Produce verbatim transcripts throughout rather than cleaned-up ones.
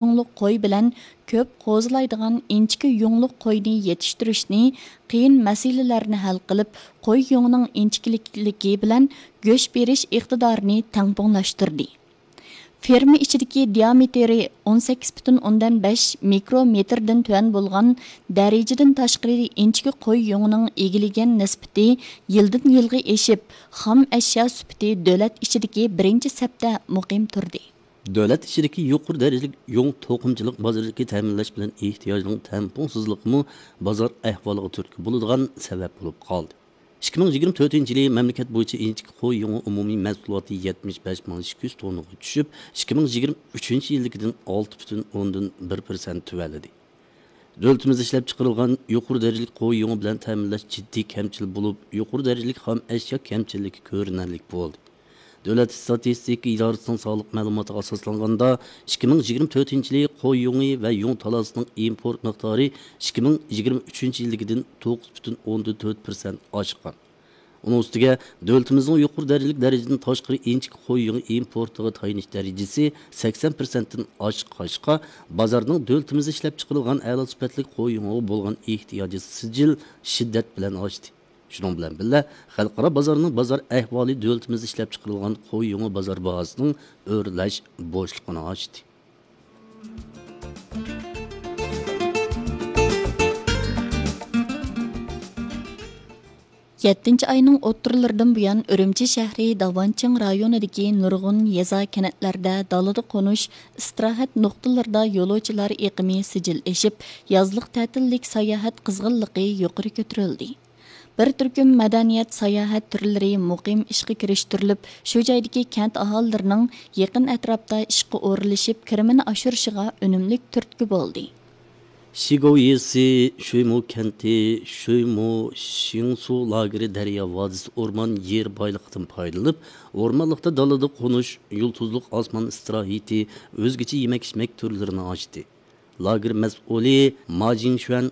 يۇڭلۇق قوي بىلەن كۆپ قوزىلايدىغان ئىنچىكە يۇڭلۇق قوينى يېتىشتۈرۈشنى، قىيىن مەسىلىلەرنى ھەل قىلىپ، قوي يۇڭىنىڭ ئىنچىكىلىكلىكى بىلەن گۆش بېرىش ئىقتىدارىنى تەڭپۇڭلاشتۇردى. فېرما ئىچىدىكى دىيامېتىرى ئون سەككىز پۈتۈن ئوندىن بەش مىكرومېتىردىن تۆۋەن بولغان، دەرىجىدىن تاشقىرى ئىنچىكە قوي يۇڭىنىڭ ئىگىلىگەن نىسبىتى يىلدىن يىلغا ئېشىپ، خام ئەشيا سۈپىتى دۆلەت ئىچىدىكى بىرىنچى سەپتە مۇقىم تۇردى. دۆلەت ئىچىدىكى يۇقىرى دەرىجىلىك يۇڭ توقۇمىچىلىق بازىرىدىكى تەمىنلەش بىلەن ئېھتىياجنىڭ تەڭپۇڭسىزلىقىمۇ بازار ئەھۋالىغا تۈرتكە بولىدىغان سەۋەب بولۇپ قالدى. ئىككى مىڭ يىگىرمە تۆتىنچى يىلى مەملىكەت بويىچە ئىنچىكە قوي يۇڭى ئومۇمىي مەھسۇلاتى يەتمىش بەش مىڭ ئىككى يۈز توننىغا چۈشۈپ، ئىككى مىڭ يىگىرمە ئۈچىنچى يىلدىكىدىن ئالتە پۈتۈن ئوندىن بىر پىرسەنت تۆۋەنلىدى. دۆلىتىمىزدە ئىشلەپچىقىرىلغان يۇقىرى دەرىجىلىك قوي يۇڭى بىلەن تەمىنلەش جىددىي كەمچىل بولۇپ، يۇقىرى دەرىجىلىك خام ئەشيا كەمچىللىكى كۆرۈنەرلىك بولدى. دۆلەت ئىستاتىستىكا ئىدارىسىنىڭ سانلىق مەلۇماتىغا ئاساسلانغاندا، ئىككى مىڭ يىگىرمە تۆتىنچى يىلى قوي يۇڭى ۋە يۇڭ تالاسىنىڭ ئىمپورت مىقدارى ئىككى مىڭ يىگىرمە ئۈچىنچى يىلدىكىدىن توققۇز پۈتۈن ئوندىن تۆت پىرسەنت ئاشقان. ئۇنىڭ ئۈستىگە، دۆلىتىمىزنىڭ يۇقىرى دەرىجىلىك دەرىجىدىن تاشقىرى ئىنچىكە قوي يۇڭى ئىمپورتىغا تايىنىش دەرىجىسى سەكسەن پىرسەنتتىن ئاشقاچقا، بازارنىڭ دۆلىتىمىزدە ئىشلەپچىقىرىلغان ئەلا سۈپەتلىك قوي يۇڭىغا بولغان ئېھتىياجى سىجىل شىددەت بىلەن ئاشتى. شۇنىڭ بىلەن بىللە، خەلقئارا بازارنىڭ بازار ئەھۋالى دۆلىتىمىزدە ئىشلەپچىقىرىلغان قوي يۇڭى بازار باھاسىنىڭ ئۆرلەش بوشلۇقىنى ئاچتى. يەتتىنچى ئاينىڭ ئوتتۇرىلىرىدىن بۇيان، ئۈرۈمچى شەھىرى داۋانچىڭ رايونىدىكى نۇرغۇن يېزا، كەنتلەردە دالىدا قونۇش، ئىستىراھەت نۇقتىلىرىدا يولۇچىلار ئېقىمى سىجىل ئېشىپ، يازلىق تەتىللىك ساياھەت قىزغىنلىقى يۇقىرى كۆتۈرۈلدى. بىر تۈركۈم مەدەنىيەت، ساياھەت تۈرلىرى مۇقىم ئىشقا كىرىشتۈرۈلۈپ، شۇ جايدىكى كەنت ئاھالىلىرىنىڭ يېقىن ئەتراپتا ئىشقا ئورۇنلىشىپ، كىرىمىنى ئاشۇرۇشىغا ئۈنۈملۈك تۈرتكە بولدى. شىگوۋ يېزىسى شۆيمۇ كەنتى، شۆيمۇ شىڭسۇ لاگېرى دەريا ۋادىسى ئورمان يېرى بايلىقىدىن پايدىلىنىپ، ئورمانلىقتا دالىدا قونۇش، يۇلتۇزلۇق ئاسمان ئىستىراھىتى، ئۆزگىچە يېمەك-ئىچمەك تۈرلىرىنى ئاچتى. لاگېر مەسئۇلى ما جىڭشۈەن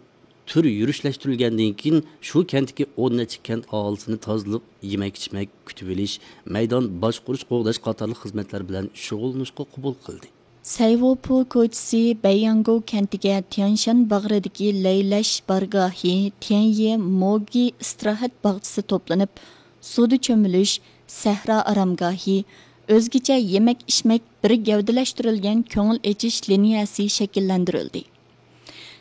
تۈر يۈرۈشلەشتۈرۈلگەندىن كېيىن، شۇ كەنتتىكى ئون نەچچە كەنت ئاھالىسىنى تازىلىق، يېمەك-ئىچمەك، كۈتۈۋېلىش، مەيدان باشقۇرۇش، قوغداش قاتارلىق خىزمەتلەر بىلەن شۇغۇللىنىشقا قوبۇل قىلدى. سەيۋوپو كوچىسى بەيياڭگو كەنتىگە تيەنشان باغرىدىكى لەيلەش بارگاھى، تيەنيې موگى ئىستىراھەت باغچىسى توپلىنىپ، سۇدا چۆمۈلۈش، سەھرا ئارامگاھى، ئۆزگىچە يېمەك-ئىچمەك، بىر گەۋدىلەشتۈرۈلگەن كۆڭۈل ئېچىش لىنىيەسى شەكىللەندۈرۈلدى.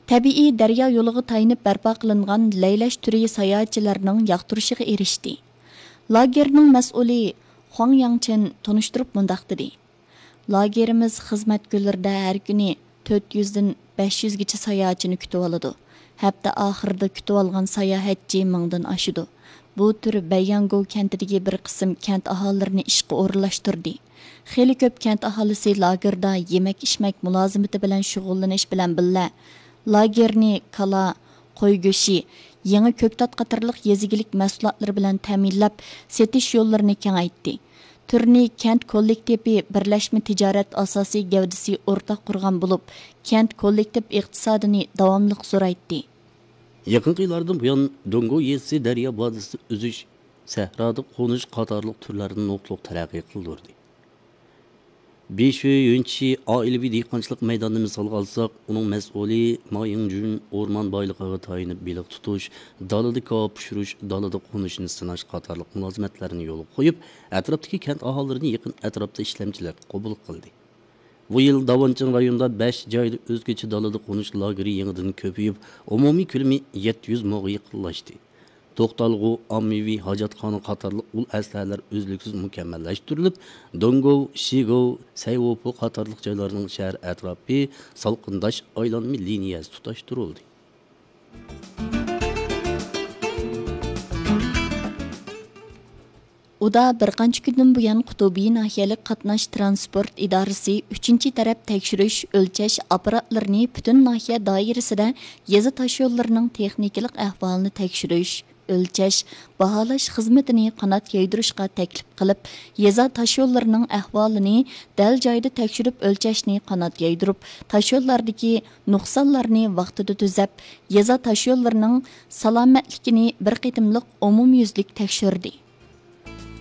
تەبىئىي دەريا يولىغا تايىنىپ بەرپا قىلىنغان لەيلەش تۈرى ساياھەتچىلەرنىڭ ياقتۇرۇشىغا ئېرىشتى. لاگېرنىڭ مەسئۇلى خۇاڭ ياڭچېن تونۇشتۇرۇپ مۇنداق دېدى: لاگېرىمىز خىزمەت كۈنلىرىدە ھەر كۈنى تۆت يۈزدىن بەش يۈزگىچە ساياھەتچىنى كۈتۈۋالىدۇ. ھەپتە ئاخىرىدا كۈتۈۋالغان ساياھەتچى مىڭدىن ئاشىدۇ. بۇ تۈر بەيياڭگو كەنتىدىكى بىر قىسىم كەنت ئاھالىلىرىنى ئىشقا ئورۇنلاشتۇردى. خېلى كۆپ كەنت ئاھالىسى لاگېردا يېمەك-ئىچمەك مۇلازىمىتى بىلەن شۇغۇللىنىش بىلەن بىللە، لاگېرنى كالا، قوي گۆشى، يېڭى كۆكتات قاتارلىق يېزا ئىگىلىك مەھسۇلاتلىرى بىلەن تەمىنلەپ، سېتىش يوللىرىنى كېڭەيتتى. تۈرنى كەنت كوللېكتىپى بىرلەشمە تىجارەت ئاساسىي گەۋدىسى ئورتاق قۇرغان بولۇپ، كەنت كوللېكتىپ ئىقتىسادىنى داۋاملىق زورايتتى. يېقىنقى يىللاردىن بۇيان، دونگو يېزىسى دەريا ۋادىسىدا ئۈزۈش، سەھرادا قونۇش قاتارلىق تۈرلەرنى نۇقتىلىق تەرەققىي قىلدۇردى. بىشۈي يۈنچى ئائىلىۋى دېھقانچىلىق مەيدانىنى مىسالغا ئالساق، ئۇنىڭ مەسئۇلى ما يىڭجۈن ئورمان بايلىقىغا تايىنىپ بېلىق تۇتۇش، دالىدا كاۋاپ پىشۇرۇش، دالىدا قونۇشنى سىناش قاتارلىق مۇلازىمەتلەرنى يولغا قويۇپ، ئەتراپتىكى كەنت ئاھالىلىرىنى يېقىن ئەتراپتا ئىشلەمچىلەرگە قوبۇل قىلدى. بۇ يىل داۋانچىڭ رايونىدا بەش جايدا ئۆزگىچە دالىدا قونۇش لاگېرى يېڭىدىن كۆپىيىپ، ئومۇمىي كۆلىمى يەتتە يۈز موغا يېقىنلاشتى. توختالغۇ، ئاممىۋى ھاجەتخانا قاتارلىق ئۇل ئەسلىھەلەر ئۈزلۈكسىز مۇكەممەللەشتۈرۈلۈپ، دونگو، شىگو، سەيۋوپو قاتارلىق جايلارنىڭ شەھەر ئەتراپى سالقىنداش ئايلانما لىنىيەسى تۇتاشتۇرۇلدى. ئۇدا بىر قانچە كۈندىن بۇيان قۇتۇبى ناھىيەلىك قاتناش تىرانسپورت ئىدارىسى ئۈچىنچى تەرەپ تەكشۈرۈش، ئۆلچەش ئاپپاراتلىرىنى پۈتۈن ناھىيە دائىرىسىدە يېزا تاشيوللىرىنىڭ تېخنىكىلىق ئەھۋالىنى تەكشۈرۈش، ئۆلچەش، باھالاش خىزمىتىنى قانات يايدۇرۇشقا تەكلىپ قىلىپ، يېزا تاشيوللىرىنىڭ ئەھۋالىنى دەل جايىدا تەكشۈرۈپ ئۆلچەشنى قانات يايدۇرۇپ، تاشيوللاردىكى نۇقسانلارنى ۋاقتىدا تۈزەپ، يېزا تاشيوللىرىنىڭ سالامەتلىكىنى بىر قېتىملىق ئومۇميۈزلۈك تەكشۈردى.